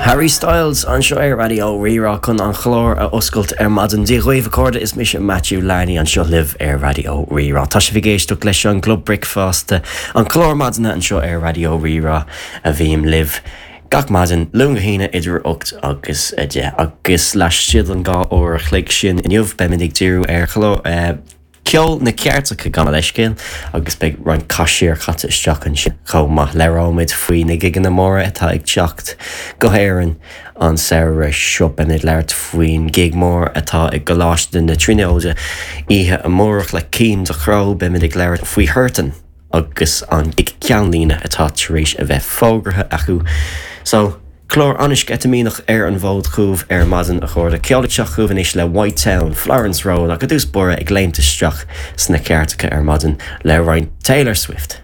Harry Styles anseo ar Raidió Rí-Rá chun an clár a oscailt ar maidin. Dia dhaoibh a chairde, is mise Matthew Larney anseo libh ar Raidió Rí-Rá. Tá sibh ag éisteacht leis an gClub Bricfeasta, an clár maidine anseo ar Raidió Rí-Rá a bhím libh gach maidin, Luan go hAoine idir 8 agus 10. Agus laistigh den 2 uair a chloig sin inniu beimid ag díriú ar chlár, Ceol na gceirteacha gabh mo leithscéal agus beidh roinnt casúir caite isteach ansin chomh maith. Labhróimid faoi na gigeanna móra atá ag teacht go hÉirinn an samhradh seo. Beimid ag labhairt faoin gig mór atá i gColáiste na Tríonóide oíche amárach le Cian Ducrot. Beimid ag labhairt faoi Huartan agus an gig ceannlíne atá tar éis a bheith fógartha acu. So. Clár an-sceitimíneach ar an bhfód chugaibh ar maidin, a chairde. Ceol ag teacht chugaibh anois le White Town, Florence Road ach i dtús báire ag léimt isteach sna ceirteacha ar maidin le roinnt Taylor Swift.